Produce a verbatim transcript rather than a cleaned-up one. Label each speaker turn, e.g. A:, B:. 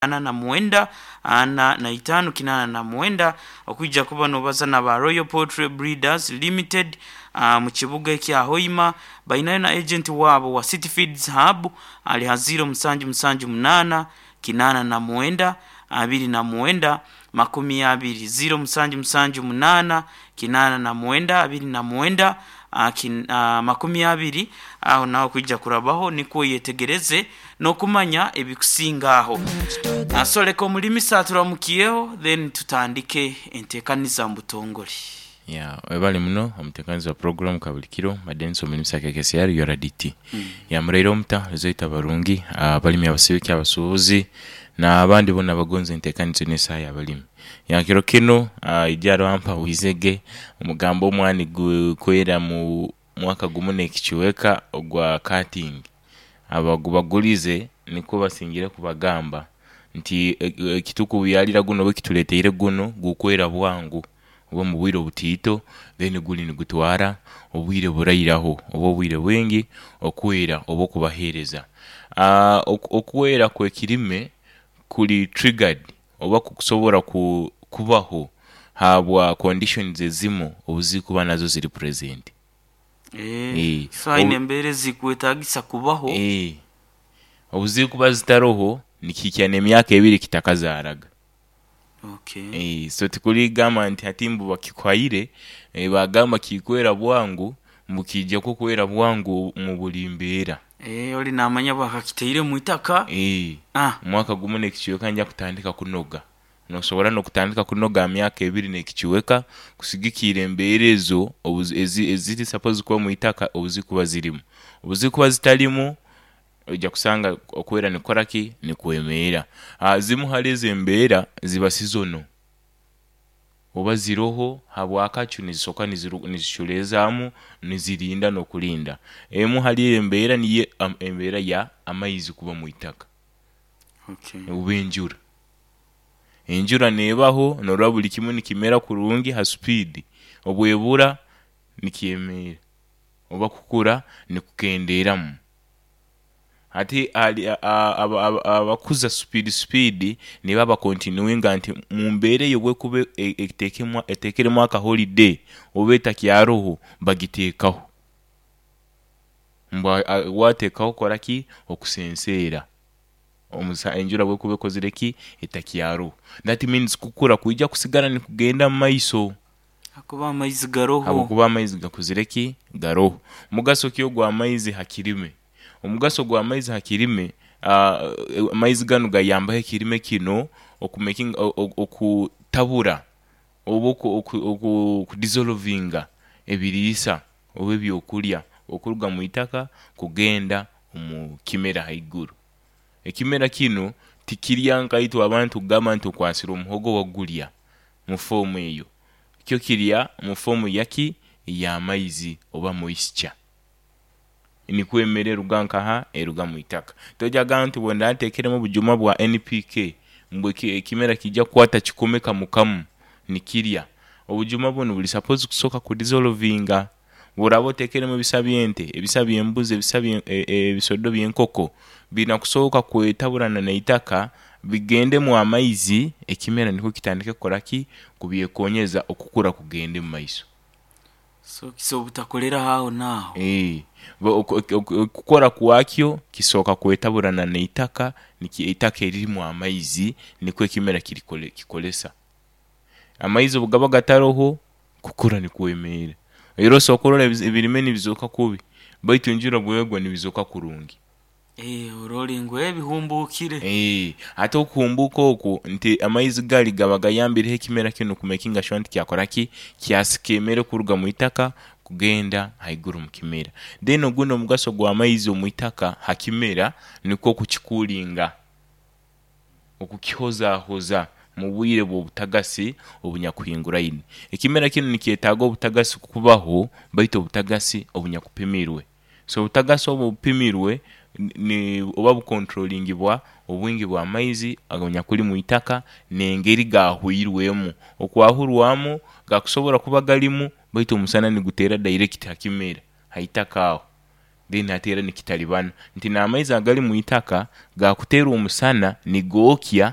A: Na mwenda ana na itaano kinaana na mwenda okwija kuba nobaza na ba Royal Poultry Breeders Limited uh, mu kibuga ekya Hoima. Bainayo na agent waabo wa City Feeds Hub ali ha ziro musanju musanju munaana kinaana na mwenda abiri na mwenda makumi abiri, ziro musanju musanju munaana kinaana na mwenda abiri na mwenda uh, kin, uh, makumi abiri. Aho naho kwija kurabaho nikwo yetegereze n'okumanya ebikusinga aho. Uh, so leka omulimisa aturamukiyeho, then tutandike enteekaniza mu butongole.
B: Ya, webale muno omuteekanizi wa program kabulikiro madensi omulimisa K K C R U R D T. mm. Ya, muraire omuta ezoita barungi abalimi, abasibiki, abasuubuzi n'abandi bona abagonza enteekaniza n'esaaha y'abalimi. Ya, kiro kinu uh, ijaro ampa wizege omugambo omwani gukwera mu mwaka gumu n'ekichweka ogwa cutting abagubagulize nikwo basingire kubagamba nti ekitukubyalira guno oba ekituleteire guno gukwera bwangu oba mu bwire obutiito, then guli nigutwara obwire burairaho oba obwire bwingi okwera oba okubaheereza. uh, okwera kw'ekirime kuli triggered oba kukusobora ku, kubaho habwa conditions ezimu obuzikuba nazo ziri present.
A: Eh, eh, so aine embeera ezikwetagisa kubaho.
B: Eh, obuzikuba zitaroho nikihikya n'emyaka ebiri kitakazaaraga.
A: okay.
B: Eh, so tikuligamba nti hati mbu bakikwaire, eh, bagamba kikwera bwangu mbu kijja kukwera bwangu mu buli mbeera.
A: Eh, oli namanya bwakakiteire mu itaka.
B: Eh,
A: ah.
B: Omwaka gumu n'ekichweka nja kutandika kunoga, nosobora n'okutandika kunoga myaka ebiri n'ekichweka kusigikiira embeera ezo eziri suppose kuba mu itaka obuzikuba zirimu. Obuzikuba zitalimu, ojja kusanga okwera nikukora ki, nikwemeera. uh, zimu hali ezo embeera ziba seasonal oba ziroho habwakacu nizisoka niziculeezaamu nizirinda n'okulinda. Emu hali embeera niyo um, embeera ya amaizi kuba mu itaka
A: okay.
B: oba enjura. Enjura neebaho norora buli kimu nikimera kurungi ha speed, obwebura nikyemeera oba kukura nikukendeeramu. Hati abakuza speed speed nibo abakontinuinga nti mu mbeera eyo bwekuba eteekeremu aka holiday oba etakyaroho bagiteekaho mbu wateekaho kora ki okusenseera enjura bwekuba ekozire ki, etakyaroho. That means kukura kwija kusigara nikugenda mu maiso.
A: Hakuba amaizi garoho.
B: Habwokuba amaizi gakuzire ki, garoho. Mugaso ki ogw'amaizi ha kirime? Omugaso gw'amaizi ha kirime, uh, amaizi ganu gayambaho ekirime kino okumakinga, okutabura oba okudissolvinga ebiriisa oba ebyokurya okuruga mu itaka kugenda omu kimera haiguru. Ekimera kinu tikirya nka itwe abantu kugamba nti okwasire omuhogo wagulya mu fomu eyo. Kyo kirya mu fomu yaki, y'amaizi oba moisture, nikwo emere eruga nkaha, eruga mu itaka. Tojja nti bwe ntekeremu obujuma bwa N P K mbu ekimera kijja kukwata kikome kamu kamu nikirya. Obujuma bunu buli suppose kusooka kudissolvinga. Bworaba otekeremu ebisa by'ente, ebisa by'embuzi, ebisa ebisodo by'enkoko, biina kusooka kwetaburana n'itaka bigendemu amaizi, ekimera nikwo kitandike kukora ki, kubyekonyeza okukura kugende mu maiso.
A: So kisobola obutakoleraho aho naaho.
B: Eh, okukora kwakyo kisooka kwetaburana n'itaka, itaka eririmu amaizi, nikwo ekimera kikolesa. Amaizi obu gaba gataroho, kukura nikwemeera. Era osobola kurora ebirime nibizooka kubi, baitu enjura bwegwa nibizooka kurungi.
A: Eh, orole ngu ebihumbuukire.
B: Eh, ate okuhumbuuka okwo nti amaizi gali gaba gayambireho ekimera kinu kumakinga sure nti kyakora ki, kyasika emere kuruga mu itaka kugenda haiguru mu kimera. Then ogundi omugaso gw'amaizi omu itaka ha kimera nikwo okukikuulinga, okukihozahoza mu bwire bw'obutagasi obunyakuhinguraine. Ekimera kinu nikyetaaga obutagasi kubaho, baitu obutagasi obunyakupimirwe. So obutagasi obu obupimirwe ni oba bukontrolingibwa obwingi bw'amaizi aganyakuli mu itaka n'engeri gaahwirwemu. Okwahurwamu gakusobora kuba galimu, baitu omusana niguteera direct ha kimera ha itaka aho. Then hati era nikitalibana nti n'amaizi agali mu itaka gakuteera omusana nigookya.